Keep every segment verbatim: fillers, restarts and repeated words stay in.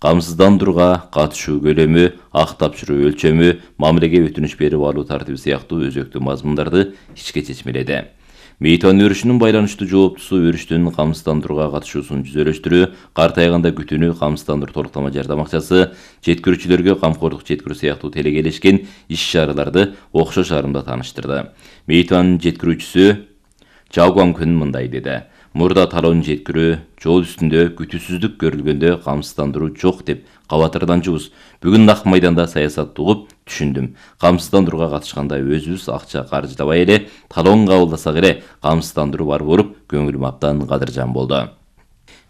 камсыздандырууга катышуу көлөмү, ак тапшыруу өлчөмү, мамилеге өтүнүш берип алуу тартиби сыяктуу өзөктүү мазмундарды ичке чечмеледи. Мейтуан өрүшүнүн байланыштуу жооптусу өрүштүн камсыздандырууга катышуусун жүзөлөштүрүү, картайганда күтүүнү камсыздандыруу толуктама жардам акчасы, жеткирүүчүлөргө камкордук жеткирүү сыяктуу телегелешкен иш-чараларды окшош арымда тааныштырды. Мейтуан жеткирүүчүсү Чауган Күн мындай деди: Мурда талоон жеткирүү, жол үстүндө күтүүсүздүк көрүлгөндө камсыздандыруу жок деп кабатырданчубуз. Бүгүн нак майданда саясатты угуп түшүндүм. Камсыздандырууга катышканда өзүбүз акча каржылабай эле талоон кабылдасак эле камсыздандыруу бар болуп, көңүлүм абдан кадыржан болду.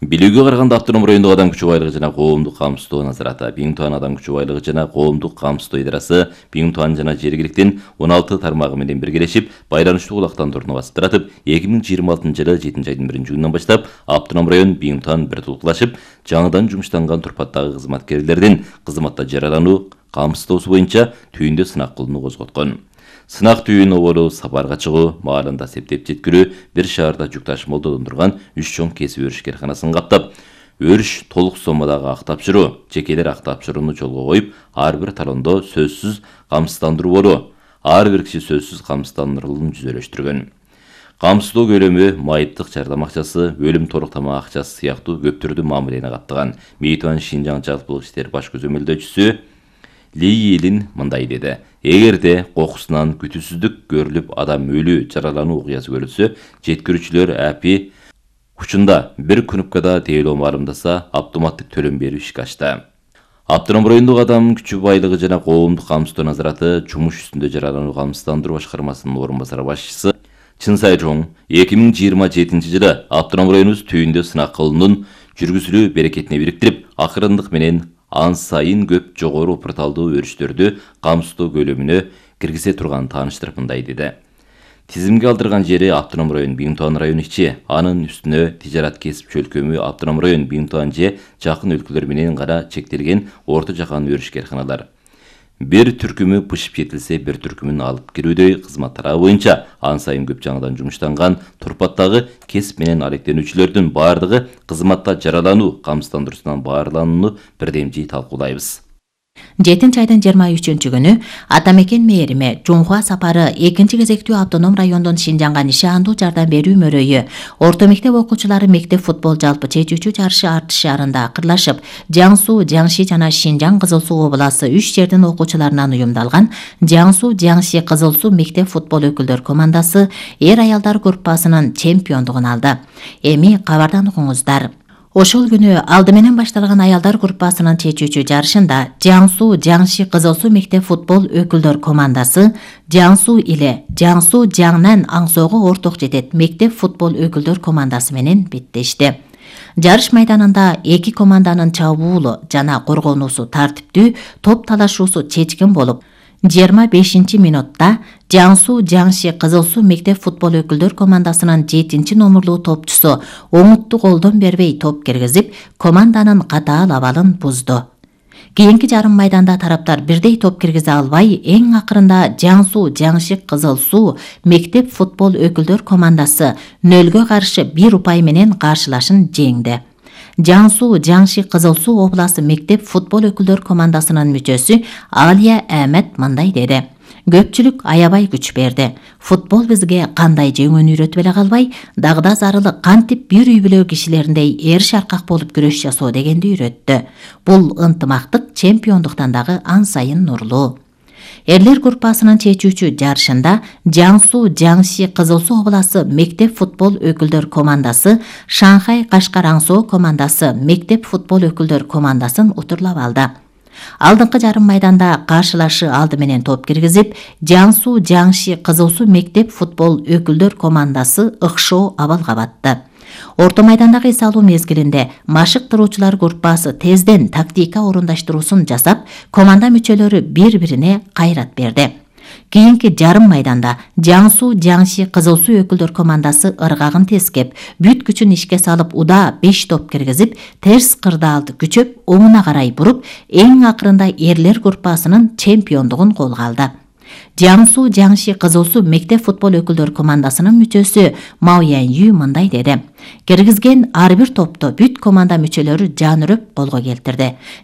Билүүгө караганда автоном райондук адам күчү байлыгы жана коомдук камсыздоо назараты, Биңтуан адам күчү байлыгы жана коомдук камсыздоо идарасы Биңтуан жана жергиликтин он алты тармагы менен биргелешип, байланыштуу кулактандырууну басыптыратып, эки миң жыйырма алтынчы жылы жетинчи айдын биринчи күнүнөн баштап автоном район Биңтуан бир тулукташып, жаңыдан жумуштанган турпаттагы кызматкерлердин кызматта жаралануу камсыздоосу боюнча түйүндө сынак кылууну козготкон. Сынак түйүн оболу сапарга чыгуу, маалында септеп жеткирүү, бир шаарда жүк ташымалдоо турган үч чоң кесип өрүш карканасын каптап, өрүш толук соммадагы ак тапшыруу, жекелер ак тапшырууну жолго коюп, ар бир талондо сөзсүз камсыздандыруу болуу, ар бир киши сөзсүз камсыздандырылууну жүзөлөштүргөн. Камсыздоо көлөмү, майыптык жардам акчасы, өлүм толуктама акчасы сыяктуу көптүрдүү мамилени каптаган. Мейтуан Шинжаң жалпылык иштер баш көзөмөлдөөчүсү Ли Йилин мындай деди: Эгерде кокусунан күтүүсүздүк көрүлүп, адам өлүү, жаралануу окуясы көрүлсө, жеткирүүчүлөр апи учунда бир кнопкада тейлөө маалымдаса, автоматтык төлөм берүү ишке ачты. Автоном райондук адам күчү байлыгы жана коомдук камсыздоо назараты жумуш үстүндө жаралануу камсыздандыруу башкармасынын орун басары башчысы Чын Сайжоң эки миң жыйырма жетинчи жылы автоном районубуз түйүндө сынак кылуунун жүргүзүлүү берекетине бириктирип, акырындык менен ан сайын көп жогору порталдуу өрүштөрдү камсыздоо көлөмүнө киргизе турганын тааныштырып мындай деди: Тизимге алдырган жери автоном район Биңтуан району ичи, анын үстүнө тижарат кесип чөлкөмү автоном район Биңтуан же жакын өлкөлөр менен гана чектелген орто жакан өрүш карканалар. Бир түркүмү пышып жетилсе, бир түркүмүн алып кирүүдөй кызмат тарабы боюнча ан сайын көп жаңыдан жумуштанган турпаттагы кесип менен алектенүүчүлөрдүн баардыгы кызматта жаралануу камсыздандыруусунан баарланууну бирдемжий талкуулайбыз. жетинчи айдын жыйырма үчүнчү күнү Атамекен мээриме Жунхуа сапары экинчи кезектүү автоном райондон Шинжаңга нишандуу жардам берүү мөрөйү орто мектеп окуучулары мектеп футбол жалпы чечүүчү жарышы артыш шаарында акырлашып, Жаңсу, Жаңши жана Шинжаң Кызыл Суу обласы үч жердин окуучуларынан уюмдалган Жаңсу, Жаңши Кызыл Суу мектеп футбол өкүлдөр командасы эр аялдар группасынын чемпиондугун алды. Эми кабардан угуңуздар. Ошол күнү алды менен башталган аялдар группасынын чечүүчү жарышында Жаңсу, Жаңши Кызыл Суу мектеп футбол өкүлдөр командасы Жаңсу иле Жаңсу Жаңнан Аңсоого орток жетет мектеп футбол өкүлдөр командасы менен беттешти. Жарыш майданында эки команданын чабуулу жана коргонуусу тартиптүү, топ талашуусу чечкин болуп, жыйырма бешинчи минутта Жаңсу Жаңши Кызыл Суу мектеп футбол өкүлдөр командасынын жетинчи номурлуу топчусу оңутту колдон бербей топ киргизип, команданын катаал абалын бузду. Кийинки жарым майданда тараптар бирдей топ киргизе албай, эң акырында Жаңсу Жаңши Кызыл Суу мектеп футбол өкүлдөр командасы нөлгө каршы бир упай менен каршылашын жеңди. Жаңсу Жаңши Кызыл Суу обласы мектеп футбол өкүлдөр командасынын мүчөсү Алия Ахмет мындай деди: Көпчүлүк аябай күч берди. Футбол бизге кандай жеңүүнү үйрөтүп эле калбай, дагы зарылык кантип бир үй бүлө кишилериндей эр шаркак болуп күрөш жасоо дегенди үйрөттү. Бул ынтымактык чемпиондуктан дагы ан сайын нурлуу. Эрлер группасынын чечүүчү жарышында Жаңсу Жаңши Кызыл Суу обласы мектеп футбол өкүлдөр командасы Шанхай Кашкар Аңсоо командасы мектеп футбол өкүлдөр командасын утурлап алды. Алдыңкы жарым майданда каршылашы алды менен топ киргизип, Жаңсу Жаңши Кызыл Суу мектеп футбол өкүлдөр командасы ыкшоо абалга батты. Орто майдандагы эс алуу мезгилинде машыктыруучулар группасы тезден тактика орундаштыруусун жасап, команда мүчөлөрү бири-бирине кайрат берди. Кийинки жарым майданда Жаңсу Жаңши Кызыл Суу өкүлдөр командасы ыргагын тескеп, бүт күчүн ишке салып удаа беш топ киргизип, терс кырдаалды күчөп, оңуна карай буруп, эң акырында эрлер группасынын чемпиондугун колго алды. Жаңсу Жаңши Кызыл Суу мектеп футбол өкүлдөр командасынын мүчөсү Мао Янью мындай деди: Киргизген ар бир топто бүт команда мүчөлөрү жан үрөп колго келтирди.